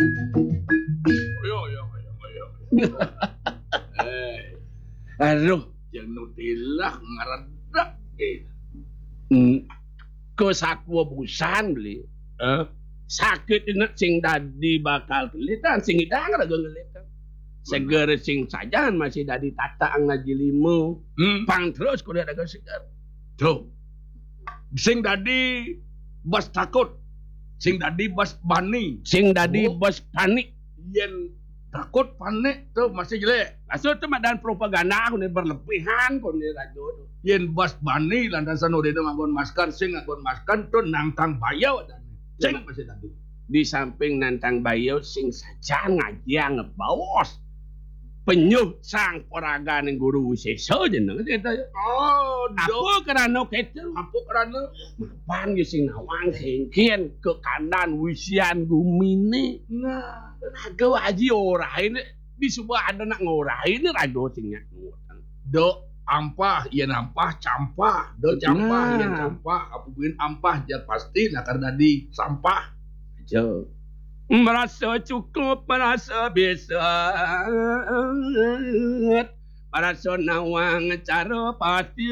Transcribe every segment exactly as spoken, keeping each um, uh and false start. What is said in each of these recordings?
Yo, yo, yo, yo. Eh, aduh, yang nutilah ngaredek, eh. Hmm. Ke sakwa busan beli. Eh? Sakit ini sing dadi bakal kelitan, sing idang raga ngelitan. Seger sing sajan masih dadi tata ngaji lima. Hmm. Pang terus kuda dagang seger. Tuh. Sing dadi bas takut. Sing dadi bas bani. Sing dadi, oh, bas panik. Yen takut panik tuh masih jelek. Maksud tuh madan propaganda aku nih berlebihan kok nih rajo tuh. Yen bas bani lantasan udah itu nganggon masker, sing nganggon masker tuh nantang bayau dan sing masih tadi. Di samping nantang bayau sing sajan ngajiang ngebaos. Penyuh sang poragan guru wisesa jeneng kita. Oh, apa kerana kita? Apa kerana? Mapan ya sing nawang singkin ke kandan wisian gumine. Nah, raga aji ora ini. Di sebuah ada nak ngora ini raga sing nyak ngutang. Dok ampah, iya nampah, campah. Dok campah, iya campah. Apa buin ampah, jar pasti, nah karena di sampah. Aja. Merasa cukup, merasa bisa. Merasa nawang cara pasti.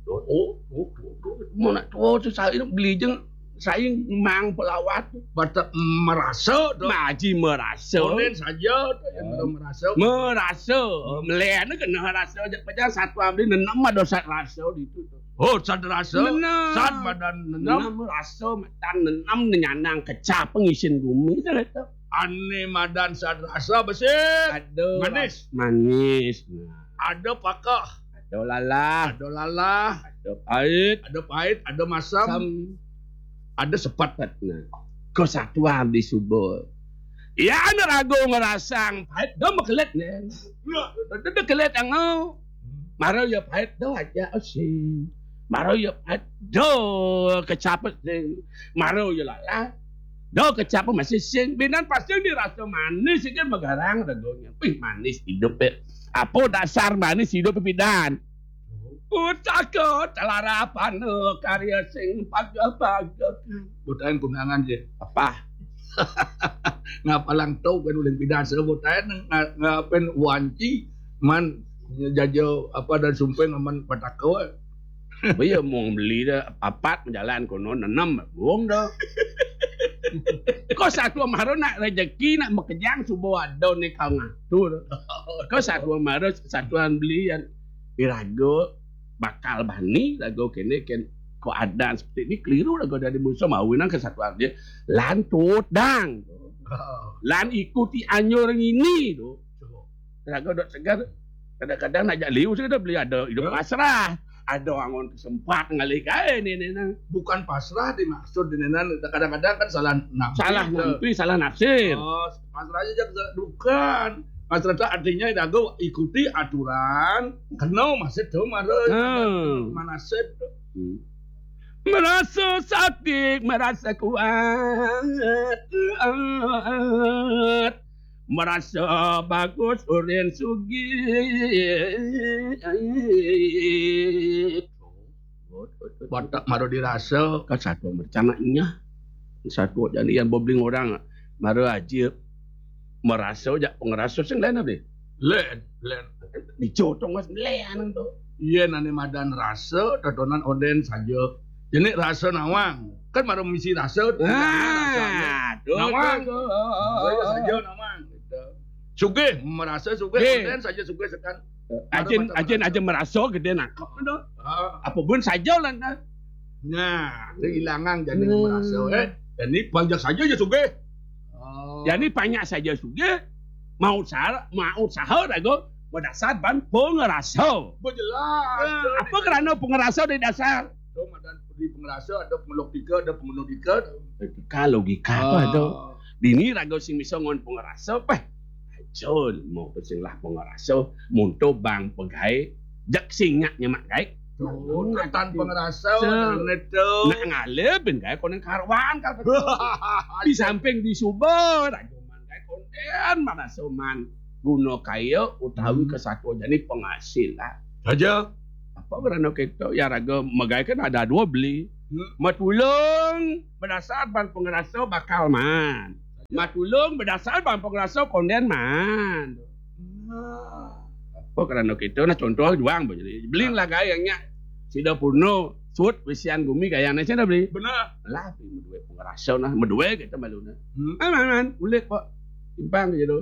Oh, oh, oh, oh. Mau nak tua tu saya beli jeng saya mang pelawat. Bata merasa tu. Maji merasa. Onen saja tu yang belum merasa. Merasa. Melihat ni kena rasa. Jangan satu ambil nenam ada sat rasa di tu. Oh, sat rasa. Nenam. Sat madan nenam. Nenam rasa madan nenam nyanang kecap pengisin bumi tu. Ane madan sat rasa besi. Aduh. Manis. Manis. Nah. Ada pakah. Ada lalah. Ada lalah. Ada pahit. Ada pahit, ada masam. Sam. Ada sepat. Nah. Kesatuan di subur. Ya, ane ragu ngerasang pahit. Dah mekelet nih. Ya. Dah, dah kelet angau. Mara ya pahit dah aja sih. Mara ya pahit dah kecapet sih. Mara ya lalah. Dah kecapet masih sing. Binan pasti dirasa manis sih kan megarang ragunya. Wih, manis hidup ya. Apa dasar manis hidup pidan? Utaka telarapan karya sing paga-paga. Butain kunangan je. Apa? Ngapalang tau kan ulin pidan sebut aja nga-, ngapen wanci man jajo apa dan sumpeng aman pataka. Iya mau beli dah apat jalan kono nenem buang dah. Kok satu maro nak rezeki nak makejang subuh ada ni kau ngatur. Kau satu maro satuan belian. Irago bakal bani rago kene ken keadaan seperti ini keliru rago dari musuh mau nang kesatuan dia lantut dang. Lan ikuti anjur ngini tu. Rago dok segar kadang-kadang nak jak liu sudah beli ada hidup pasrah. Ada angon kesempat ngalih kae ni ni nang. Bukan pasrah dimaksud di nenan kadang-kadang kan salah nafsir. Salah nafsir, salah nafsir. Oh, pasrah aja jangan bukan. Pasrah itu artinya rago ikuti aturan. Kena masih tu mara. Hmm. Manasib tu. Hmm. Merasa sakit, merasa kuat. Merasa bagus, urin sugih. Batak mara dirasa. Kan satu mercana inya. Satu jani yang bobling orang. Mara aja merasa jak pengerasa sing lain apa? Len, len. Dicotong mas len tu. Iya nane madan rasa, totonan onden saja. Jenik rasa nawang. Kan mara misi rasa. Ah, nawang. Saja nawang. Gitu. Sugih, merasa sugih, onden saja sugih sekan. Ajin, ajin aja merasa gede nangkep tu. Apa pun saja lah nah. Nah, kehilangan jadi merasa eh. Jadi banyak saja ya sugih. Oh. Jadi banyak saja sugih. Mau usaha, mau usaha rago berdasar ban pengerasa. Bejelas. Nah, apa kerana pengerasa di dasar? Tu madan di pengerasa ada pengeluk tiga, ada pengenuh tiga. Logika, logika apa tu? Dini raga sing bisa ngon pengerasa peh. Acun mau tu sing lah pengerasa, munto bang pegai, jak singak nyemak gai. Ketan pengerasa, nak ngalih bin gai konen karwan kata. Di samping di suba raga man gai konen mana soman guna kaya utawi kesatuan jani penghasilan. Saja. Apa kerana kita ya raga megai kan ada dua beli. Matulung berdasar ban pengerasa bakal man. Matulung berdasar bang pengrasa konden man. Nah. Apa kerana kita nak contoh juang beli. Beli lah gaya nya. Sida purno sut besian gumi gaya ni sida beli. Benar. Lah beli medue pengrasa nah, medue kita malu nah. Hmm. Man, man, man. Ulit pak. Simpang je tu.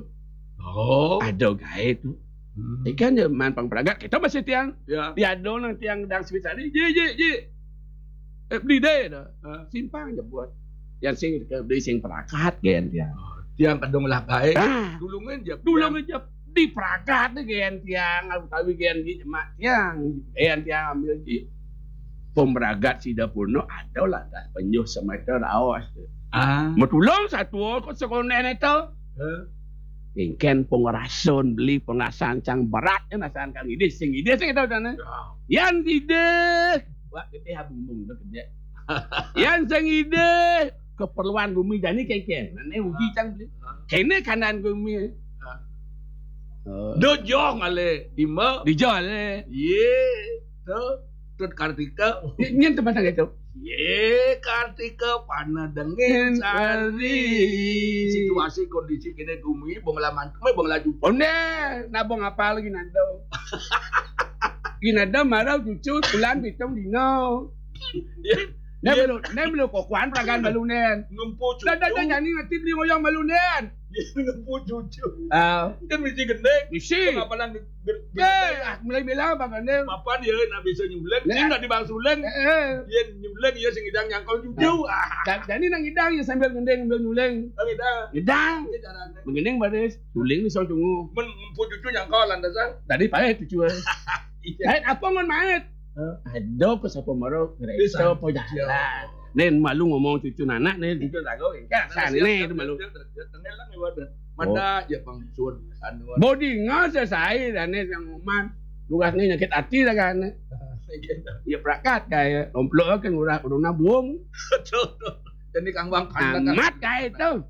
Oh. Ada gaya tu. Hmm. Ikan je man pang peragat kita masih tiang. Ya. Tiada nang tiang dang sweet tadi. Je je je. Eh, beli deh dah. Ha. Simpang je buat. Yang sing ke beli sing peragat gen tiang. Oh, tiang kadung lah baik. Ah. Tulungin je. Tulungin je. Di peragat ni gen tiang. Aku tahu gen di jemak tiang. Gen tiang ambil je. Pemeragat sida purno ada lah dah penyuh semeter awas. Ah. Metulung satu ko sekonen itu. Ha. Ingken pengerasun beli pengasan cang berat kan asan kang idih sing idih sing itu sana. Ya. Yan idih. Buat kita habung bung tu kerja. Yan sing idih keperluan bumi jani kengken. Nane uji cang beli. Kene kanan bumi. Ha. Oh. Do jong ale ima. Di jong ale. Ye. Tu. Tut Kartika. Nyen tempat itu. Ye Kartika pana dengin sari. Situasi kondisi kene gumi bongla mantu mai bongla jupa. Onde, nabong apa lagi nado. Ginada marau cucu bulan pitung dino. Ya. Ne belum, ne belum kokuan peragan balu nen. Ngempu cucu. Dah dah dah jani mati beli ngoyong balu nen. Ngempu cucu. Ah. Kan mesti gendeng. Mesti. Ngapalan Eh, ah, mulai bilang apa gendeng? Papan ya nak bisa nyuling. Ini nak dibahas uling. Eh, eh. Ya nyuling ya sing idang nyangkau cucu. Ah. Jani nang idang ya sambil gendeng sambil nyuling. Nang idang. Idang. Menggendeng baris, suling ni song tunggu. Men ngempu cucu nyangkau landasan. Tadi pakai cucu. Iya. Lain apa ngon mait? Ada apa siapa maro ngeresa apa jalan. Nen malu ngomong cucu nanak nen cucu lagu kan sana nen itu malu. Tengah lah lewat. Mada ya bang sun anu. Bodi ngasa sai dan nen yang ngoman. Lugas nen nyakit hati lah kan. Ya perakat kaya lomplok kan udah corona buang. Jadi kang bang pandang. Amat kaya itu.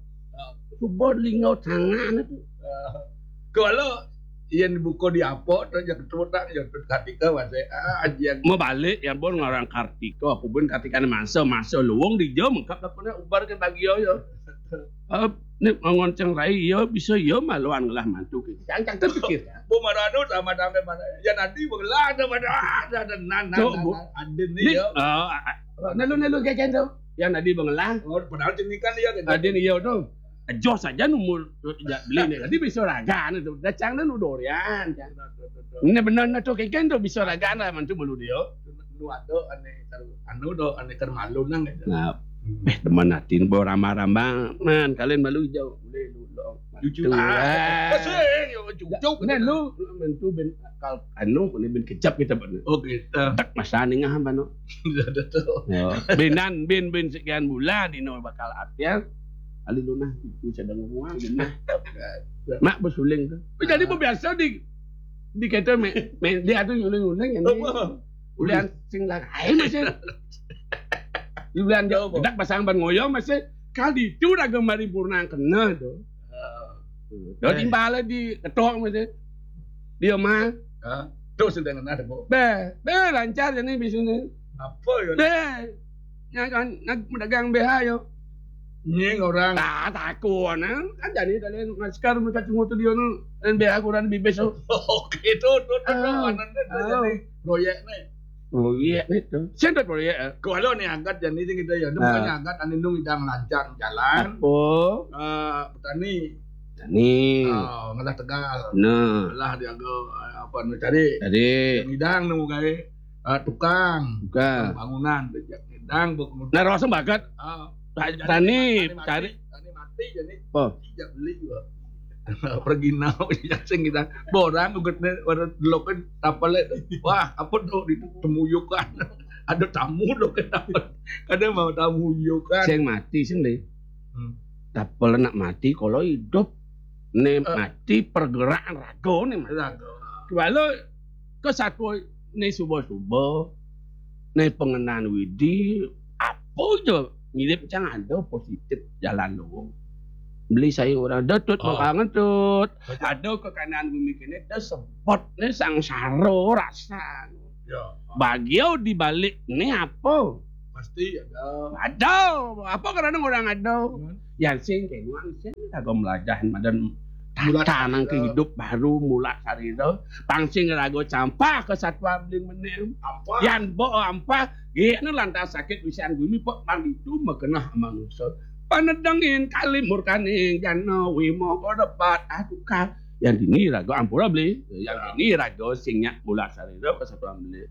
Subur lingau tangan itu. Kalau yang buka di apa tu yang ketutak yang ketika masih ah yang mau balik yang pun ngarang Kartika aku pun Kartika ni masa masa luang di jauh mengkap tak pernah ubar ke bagi yo. Ni ngonceng rai yo bisa yo maluan ngelah mantu kita. Cang cang terpikir. Bu marano sama dengan mana? Ya nanti belah ada mana ada ada nan nan ada ni yo. Nelu nelu keken tu. Yang tadi bengelah. Oh, padahal jenikan dia kan. Tadi ni yo tu. Ajoh saja numur beli ni. Tadi bisa raga ni tu. Dacang ni nu dorian. Ini benar ni tu keken tu bisa raga lah mantu bulu dia. Nu ada ane anu do ane ker malu nang itu. Nah, eh teman hati bo rambang-rambang. Man kalian malu jauh. Boleh lu lo. Jujur. Sing yo jujur. Nah lu mantu ben kal anu ni ben kejap kita ben. Oh gitu. Tak masa ningah bano. Benan bin bin sekian bulan dino bakal atian. Ali lunah itu sedang ngomong lunah. Mak besuling tu. Jadi biasa di di kata me, me dia tu uling-uling yang ni. Ulian sing lah ai masih. Ulian dia dak pasang ban ngoyo masih kali itu dah gemari purnang kena tu. Dah timbal di ketok masih. Dia mah. Ha? Tu sedang kena debo. Be, be lancar jani bisnis ni. Apa ya? Be. Yang kan nak mendagang B H yo. Nying orang. Tak takut nah. Kan jadi tadi masker mereka cuma tu dia nu dan B H kurang bibis tu. Oke tu tu tu. Mana tu jadi proyek ni. Proyek ni tu. Siapa proyek? Kalau ni angkat jadi kita ya. Bukannya angkat anu nung idang lancar jalan. Oh. Petani. Petani. Oh, ngelah tegal. Nah. Ngelah diaga apa nu cari. Tadi. Ngidang nemu gawe. Ah, tukang. Tukang. Bangunan. Ngidang bangunan. Nah, rasa bakat. Ah. Tani cari. Tani mati jadi. Oh. Tidak beli juga. Pergi nau yang sing kita. Borang ugut ni warna delokan tapale. Wah, apa tu di temuyukan. Ada tamu tu kenapa? Kada mau tamu yukan. Sing mati sing deh. Hmm. Tapal nak mati kalau hidup. Ne mati pergerakan raga ni mati. Raga. Kalau ke satu ni subuh-subuh ni pengenan widi apa je mirip cang ada positif jalan lu. Beli saya orang dah tut makangan tut. Ada ke kanan bumi kini dah sebut ni sangsara rasa. Ya. Bagiau di balik ni apa? Pasti ada. Ada. Apa karena orang ada? Yan sing kenuan sing raga melajahan madan tatanan kehidup baru mula sarira. Pang sing raga campah ke satwa beling menem. Apa? Yan bo ampah, gini lantas sakit wisan gumi pok pang itu makenah manusia. Panedengin kali murkaning jana wima kok debat aduh kal. Yang dini raga ampura beli, yang dini raga sing nyak mula sarira ke satwa beling.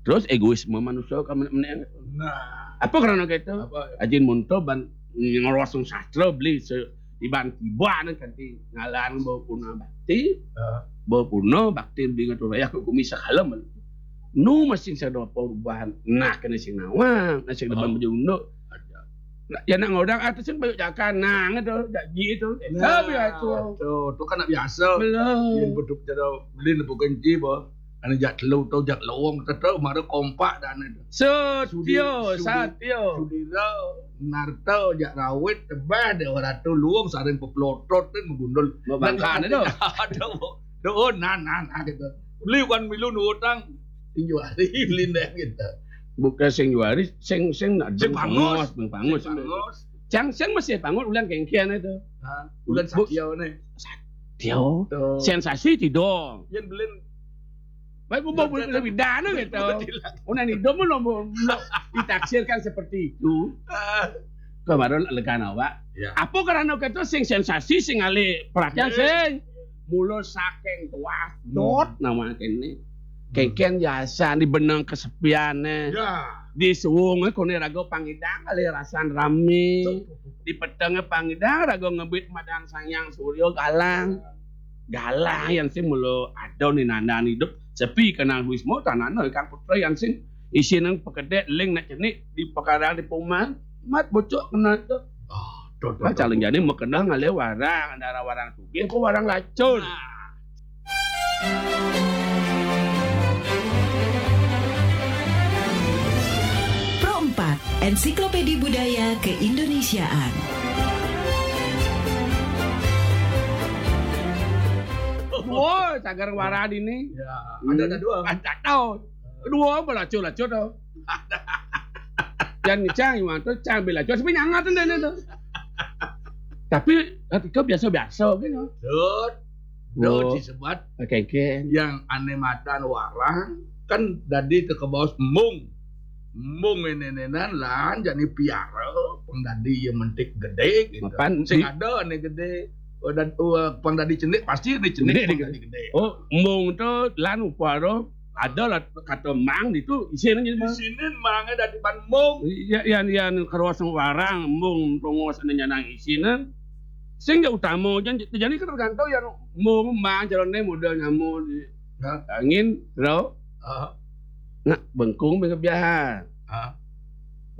Terus egoisme manusia ka menek-menek. Nah. Apa karena gitu? Apa? Ajin munto ban ngerosong sastra beli se iban tiba nang kanti ngalan bawa puna bakti, bawa puna bakti beli ngatur raya ke gumi sakala men. Nu masing sada perubahan. Nah kena sing nawang, nah sing depan baju unduk. Nah, ya nak ngodang artis sing banyak jakan nang itu, janji itu. Nah, tapi itu. Tuh, tuh kan biasa. Belum. Yang beduk jero beli nepu kenci bah. Ane jak telu to jak lowong tetu mara kompak dane. Setio, satio. Sudira narta jak rawit tebah de ratu luwung saring peplotot te megundul. Mabangkane to. Aduh. Duh, nah nah nah gitu. Beli kan milu nutang. Tinju hari lindang gitu. Bukan sing juari, sing sing nak sing pangus, sing pangus. Cang sing masih pangus ulang kengkian itu. Hah? Ulang satio ne. Tio. Sensasi tidak. Yang belin. Baik, mau mau lebih dana gitu. Udah nih, dong mau mau ditaksirkan seperti itu. Kemarin lekan awak. Ya. Apa karena kita sing sensasi, sing alih perhatian, sing mula saking tuas dot nama kene. Kengken yasan di benang kesepiane. Ya. Di suwunge kone raga pangidang alih rasan rame. Di petenge pangidang raga ngebit madang Sang Hyang Surya galang. Galang yang sing mula ada ni nandan hidup sepi kenang wisma tanana kang putra yang sing isine pekedek ling nek cenik di pekaran di poma mat bocok kena itu. Oh, calon jani makenang alih warang antara warang sugih ke warang lacur. Pro empat, Ensiklopedi Budaya Keindonesiaan. Wah, cagar warang ini. Ya, ada ada dua. Ada tahu. Kedua belacu-lacu tuh. Dan cang iwan tuh cang belacu sebenarnya nyangat tuh. Tapi ketika biasa-biasa gitu. Dut. Dut disebat. Oke, oke. Yang aneh matan warang kan dadi teke baos embung. Embung nenenan lan jani piara pang dadi ya mentik gede gitu. Mapan sing ada aneh gede. Oh, dan uh, pang dadi cenik pasti ada cenik gede, pang dadi gede. Oh, embung tuh lan upara ada lah kata mang itu isine gitu. Isine mangnya dadi ban embung. Iya, iya, iya, karuas warang embung tongos ane nyanang isine. Sing ya utama jan jadi kan tergantung yang mau mang jalane modal nyamu di angin ro nak bengkung bengke biar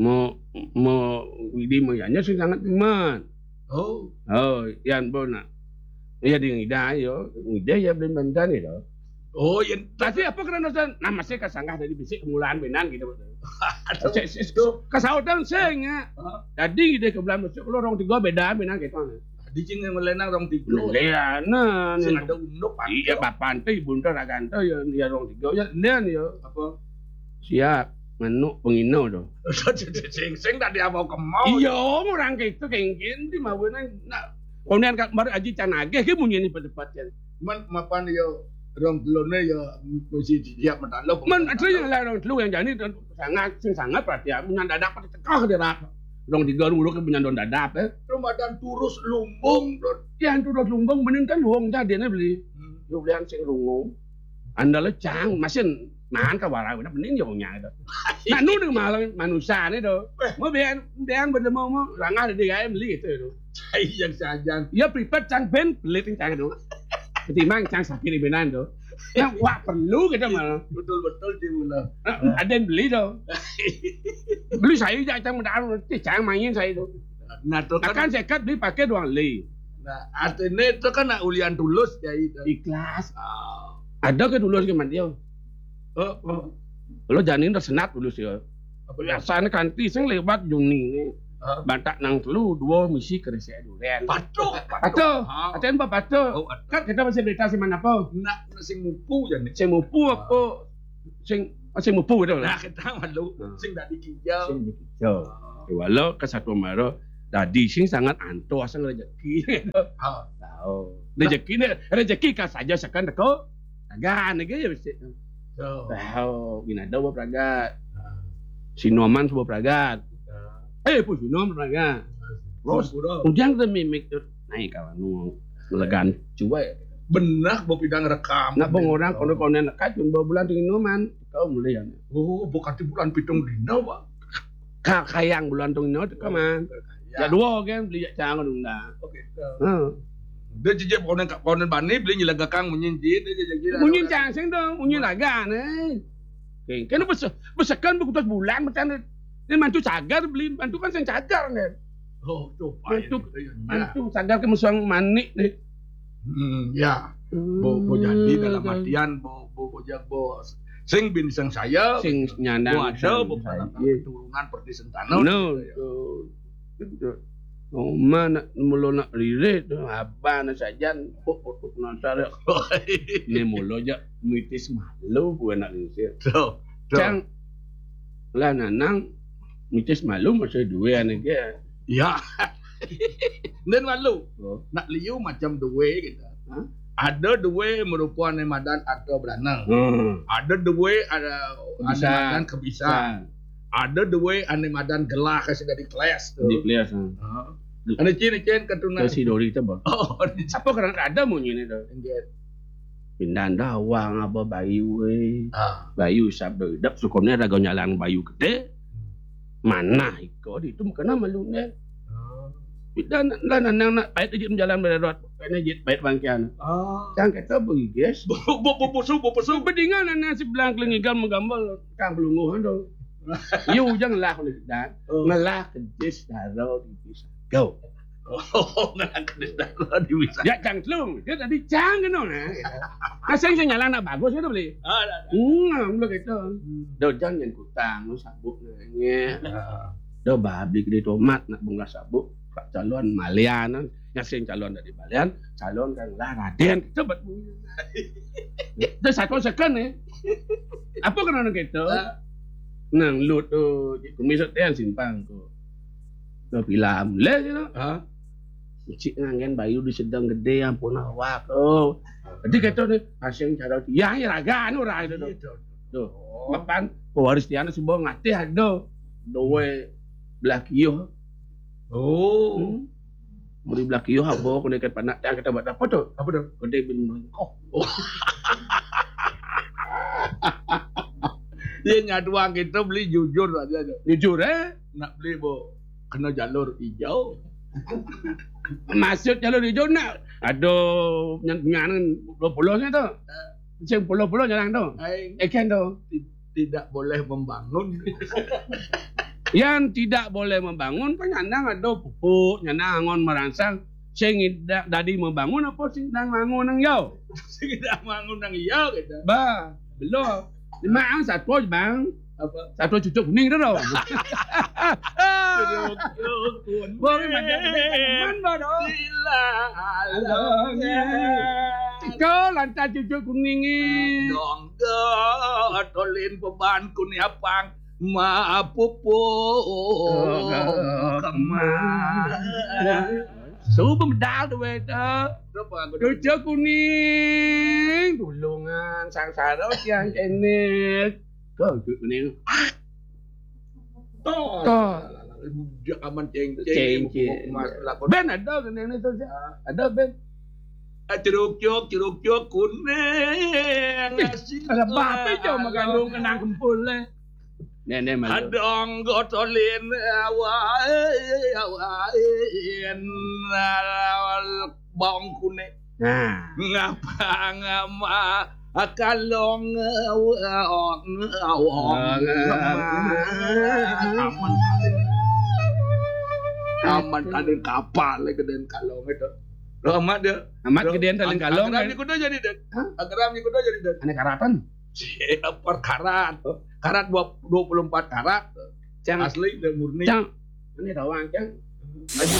mau mau widi mau yanya sing sangat iman. Oh, oh, yan bona iya di ngida yo ngida ya belum bandan itu. Oh, yang tapi apa kena nonton? Nah, masih kasanggah dari bisik kemulaan benan gitu. Kasautan sing ya. Jadi ide ke bulan masuk lu orang tiga beda benan gitu. Di cing yang melenang orang tiga. Leanan. Sing ada unduk. Iya, bapak ente ibu ente rakan ente ya ya orang tiga ya nen ya. Apa? Siap. Manuk pengino tuh. Sing sing tadi apa kemau? Iya, orang gitu kengkin di mawenan. Nah, kemudian kak baru aji can ageh ke munyi ini pada-pada. Man mapan ya rong telone ya mesti siap metalo. Man ada yang lah rong telu yang jani dan sangat sing sangat perhatian menyan dadak pada tekah dia rak. Rong tiga rong uruk menyan don dadak eh. Ramadan turus lumbung. Ya turus lumbung bening kan wong tadi beli. Yo belian sing lungo. Andale cang masin man ka warang bener bening yo nya itu. Nah nu ning malah manusane to. Mau bean bean bener mau mau langah di gawe beli gitu itu. Yang sajan. Ya pripet cang ben beli ting cang itu. Ketimbang cang sakit di benan to. Yang wah perlu gitu malah. Betul betul di mula. Ada yang beli to. Beli saya jak cang mendaru cang main saya itu. Nah, itu kan akan sekat beli pakai doang li. Nah, artinya itu kan nak ulian tulus ya itu. Ikhlas. Oh. Ada ke tulus ke dia? Oh, oh. Lo janin tersenat tulus ya. Biasanya kanti sing lewat Juni ini. Huh? Bantak nang telu dua misi kerja duren. Patuh, patuh. Patuh. Atau apa patuh? Oh, kan kita masih berita sih mana apa? Nak sing mupu ya nih. Sing mupu apa? Sing Masih mupu gitu lah. Nah, kita malu Hmm. sing dadi kijel. Sing dikijel. Walau ke satu maro dadi sing sangat antuh asal rezeki. Ah, Tahu. Rezeki ini rezeki kas aja sekan deko. Dagan lagi ya mesti. so. Tahu, gini ada bawa pragat. Sinoman sebuah pragat. Eh, pun Sinoman pragat. Terus Pura. Ujang tuh mimik tuh naik kawan nu melegan. Coba ya. Benar, bawa pidang rekam. Nak bang orang kono-kono nekat pun bawa bulan tinggi noman. Kau melihat. Oh, bukan di bulan pitung dina, Pak. Ka kayang bulan tinggi noman. Ya. Ya dua kan beli cang dong dah. Oke. Heeh. Dia jejak konen konen bani beli nyelagakang munyin ji, dia jejak ji. Munyin cang sing dong, munyin lagan eh. Oke, kan bes besekan buku tas bulan macam ni mantu cagar beli mantu kan sing cagar kan. Oh, tuh, Mantu- Pak. Mantu cagar ke musuh manik nih. Hmm, ya. Bo, bo jadi dalam artian bo, bo, bo, ja- bo sing bin sing saya. Sing nyandang Bo ada sang- bo sang- anak iya. keturunan perti sentana. No, tu. Tu. Oma nak mulu nak lirik tu abah nak sajan pok pok pok nasar. Ni mulu je mitis malu ku anak lingsir. Tuh. Tuh. Cang lah nanang mitis malu masih dua anak dia. Ya. Dan malu. Oh. Nak liu macam dua gitu. Hah? Ada dua merupakan madan atau belana. Hmm. Ada dua ada Bisa. Ada madan kebisa. Ada dua ane madan gelah kasih dari kelas tu. Di kelas. Ha. Ha. Ane cin cin katuna. Ke si Dori tu bang. Oh, Apa kerana ada munyi ni tu? Inggit. Pindah dawang apa bayu eh. Ah. Bayu sabda hidup sukonnya ada nyalang bayu gede. Mana iko di itu kena malu ni. Ah. Pindah lah nanang nak pait aja jalan bererot. Kena jit pait bangkian. Ah. Cang kata pergi guys. Bo bo bo bosu bo bosu. Bedingan anak si belang kelengigal menggambar kang belunguh tu. Yu ujang lah ni dan Oh. ngelah kedis daro di bisa. Go. Oh, ngelah kedis daro di bisa. Ya cang telung. Dia tadi cang kena nah. Asal saya nyalah nak bagus kan beli. Ah, dah, dah. Hmm, belum gitu. Do jang yang kutang lu sabuk nanya. Ah. Do babi gede tomat nak bunga sabuk. Pak calon malian. Yang sing calon dari malian, calon kan lah Raden. Coba. Itu satu second ni. Apa kena orang gitu? Ah. Nang lu tu kumis tian simpang tu. Tu bilam le gitu. Ah. Cik ngangen bayu di sedang gede ampun awak. Oh. Jadi kata ni asing cara yang raga anu raga tu. Gitu. Tu. Mapan pewaris tiana semua ngatih ada. Dowe belah kiyoh. Oh. Hmm. Beri belah kiyoh apa kena ikan panak tak kata buat apa tu? Apa tu? Gede bin merengkoh. Dia nyaduang kita beli jujur aja tu. Jujur eh. Nak beli bo kena jalur hijau. Maksud jalur hijau nak ada nyan nyan dua puluh ni tu. Sing puluh-puluh jalan tu. Ai Ikan tu. tidak boleh membangun. Yang tidak boleh membangun kan nyandang ada pupuk, nyandang angon merangsang. Sing tidak dadi membangun apa sing nang bangun nang yau? Sing tidak bangun nang iya gitu. Bah, belum. Lima ang satu bang. Apa? Satu cucuk kuning tu tau. Jeruk jeruk Boleh macam ni. Man baru. Sila Alongnya. Kau lantas cucuk kuning ni. Dongga tolin beban kuniapang mapupu kemah. Subuh medal tu beta. Berapa aku Cucuk kuning, tulungan sangsara tiang kenek. Kau cucuk kuning. Toh. Toh. Dia aman ceng Ceng, ceng. Mas lapor. Ben ada kena ni tu. Ada ben. Jeruk jeruk jeruk jeruk kuning. Ada bape je makan dong kena kempul le. Nenek malu. Adong gotolin awai awain bawang kuning. Nah. Ngapa ngama akalong awong awong. Aman. Aman tadi kapal le geden kalong itu. Lo amat dia. Amat gedean talin kalong. Agar ni kuda jadi dek. Hah? Agar ni kuda jadi dek. Anak karatan. Siapa karat? Karat dua puluh empat karat. Cang. Asli dan murni. Cang. Ini tawang cang. Aji